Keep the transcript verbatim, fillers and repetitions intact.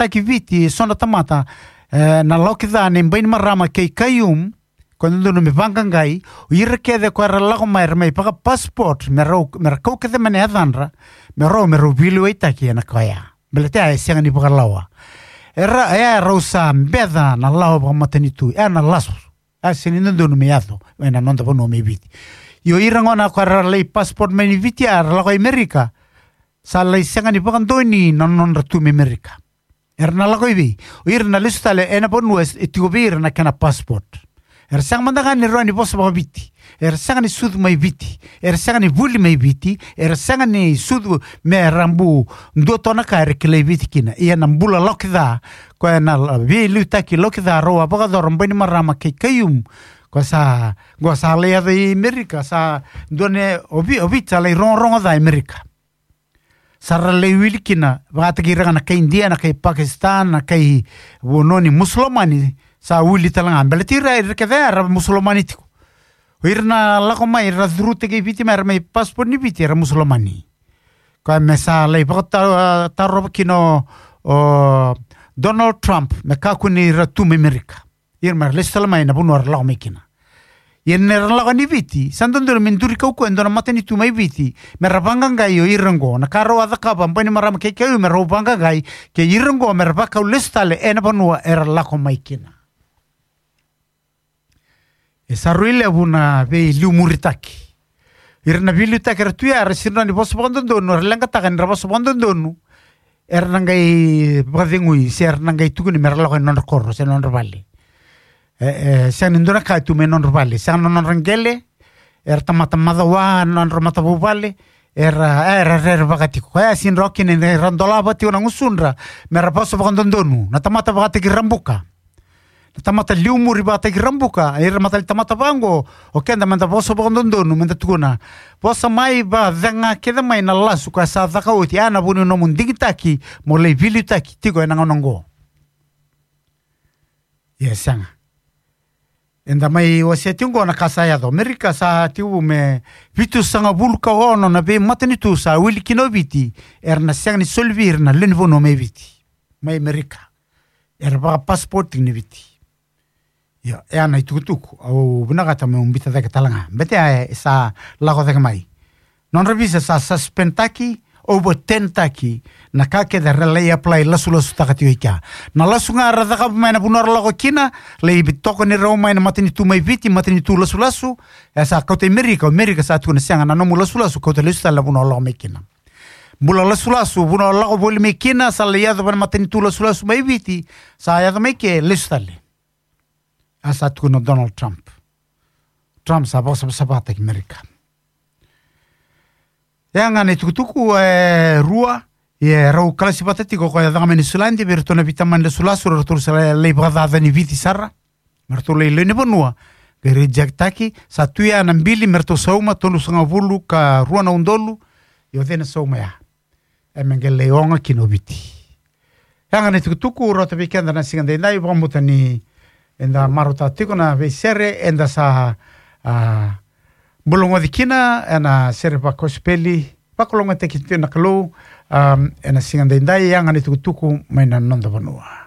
vakataki Viti, e so na tamata, e, na Laokica, na Bainimarama kei Khaiyum, ko e dodonu me vaqaqai, o ira kece ko era lako mai, era mai vaka-passport, me ra, me ra kau kece mai na yacadra, me rau, me rau veiliutaki ena ka oya. Baleta ya e sega ni vakalawa. Era, e, rau sa beca na lawa vakamatanitu, e, na lasu. A sega ni dodonu me yaco ena noda vanua mai Viti. Io, ira gona ko era lai passport mai ni Viti, a ra lako i Amerika, sa lai sega ni vakadonui na nodra tu mai Amerika. Era na lako i vei? O ira na lesu tale ena vanua e, e tiko vei ira na kena passport. Era sega mada ga ni rawa ni vosa vakaViti. Era sega ni sucu mai Viti. Era sega ni vuli mai Viti. Era sega ni sucu me ra bu dua toka na ka era kilai Viti kina. Ia na bula Laokica, ko e na la-, veiliutaki Laokica, rau a vakayacora Bainimarama kei Khaiyum. Ko sa, ko sa lai yaco i Amerika, sa dua na, o Vi-, o Viti sa lai rogorogo ca i Amerika. Sa ra lai wili kina, vakataki ira ga na kai Idia, na kai Pakistan, na kai vanua ni Musulomani, sa wili tale ga. Baleti ira, ira kece era Musulomani tiko. O ira na lako mai, ra curutaki Viti mai, era mai passport ni Viti, era Musulomani. Koya me sa lai vakata-, tarova kina o, o Donald Trump, me kakua ni ra tu mai Amerika. Ira me ra lesu tale mai na vanua ra lako mai kina. Ia ni ra lako ni Viti, sa dodonu me duri kaukaua e dua na matanitu mai Viti, me ra vaqaqai o ira oqo. Na ka rau a cakava Bainimarama kei Khaiyum, me rau vaqaqai, kei ira oqo me ra vakau lesu tale ena vanua era lako mai kina. E sa rui levu na veiliumuritaki. Ira na veiliutaki era tu ya, era sega ni vosa vakadodonu, era leqataka ni ra vosa vakadodonu, era na qai vakacegui, se era na qai tukuni me ra lako ena nodra koro, se na nodra vale. E, e, sega ni dua na ka e tu mai nodra vale, sega na nodra qele, era tamata macawa, nodra matavuvale, era, e, era rerevaka tiko. Koya e sega ni rawa kina ni ra dolava tiko na gusudra, me ra vosa vakadodonu. Na tamata vakataki Rabuka. Na tamata liumuri vakataki Rabuka, ira matali tamata vaqo, o keda meda vosa vakadodonu, meda tukuna. Vosa mai, vacega kece mai na lasu ka sa caka oti, a na vu ni nomu digitaki, mo lai veiliutaki tiko ena gauna oqo. Ia sega. Eda mai wasea tiko oqo na ka sa yaco. Amerika sa tiko me vitusagavulu ka ono na veimatanitu sa wili kina o Viti, era na sega ni soli vei ira na lewe ni vanua mai Viti. Mai Amerika. Era vaka-passport ni Viti. Io, e a na itukutuku, au vinakata meu biuta cake tale ga. Baleta e sa lako cake mai. Nodra visa sa suspend taki, overturn taki, na ka kece era lai apply lasulasutaka tiko i kea. Na lasu ga ra cakava mai na vanua ra lako kina, lai tokoni rau mai na matanitu mai Viti, matanitu lasulasu, e sa kauta i Amerika, o Amerika sa tukuna sega na nomu lasulasu, kauta lesu tale na vanua o lako mai kina. Bula lasulasu, vanua o lako voli mai kina, sa lai yaco vei na matanitu lasulasu mai Viti, sa yaco mai ke, lesu tale. A sa tukuna o Donald Trump. Trump sa vakasavasavataki Amerika. E a ga na itukutuku e rua, e rau kalasi vata tiko ko e caka mai Niu Siladi, vei iratou na veitamani lasulasu, ratou sa lai, lai vakacacani Viti sara. Me ratou lai lewe ni vanua, qai reject taki, sa tu ya na bili, me ratou sauma, tolusagavulu ka rua na udolu, io cei na sauma ya. E me qai lai oga kina o Viti. E a ga na itukutuku, rauta vei keda na siga daidai, vakamuta ni eda marautaka tiko na veisere, eda sa, a, bulagoci kina, ena sere vakosipeli, vakalougatataki tiko na Kalou, a, ena siga daidai, e a ga na itukutuku, mai na noda vanua.